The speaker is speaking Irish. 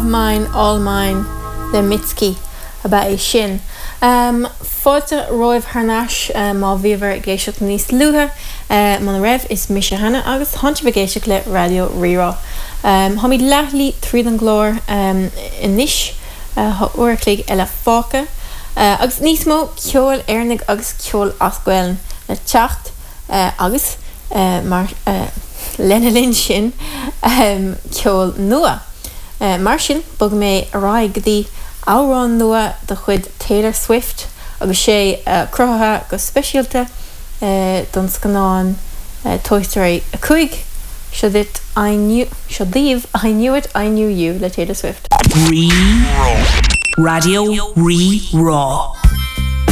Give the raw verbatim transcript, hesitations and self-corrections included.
Mine All Mine le Mitski ab ea é sin. Um, Fáilte romhaibh thar n-ais um, má bhíobhair ag éisteacht níos luaithe uh, muna raibh is mise Hannah agus tá sibh ag éisteacht le Raidió Rí-Rá. Um, Táimid leath tríd an gclár um, anois uh, uair a chloig eile fágtha. Uh, agus níos mó ceol Éireannach agus ceol as Gaeilge le teacht uh, agus uh, mar uh, lena linn sin um, ceol nua. Uh, mar sin bogfaidh mé ar aghaidh go dtí amhrán nua de chuid Taylor Swift agus sé uh, cruthaithe go speisialta uh, don scannán uh, Toy Story a cúig seo duit I knew seo daoibh I knew it I knew you le Taylor Swift. Rí Raidió Rí-Rá.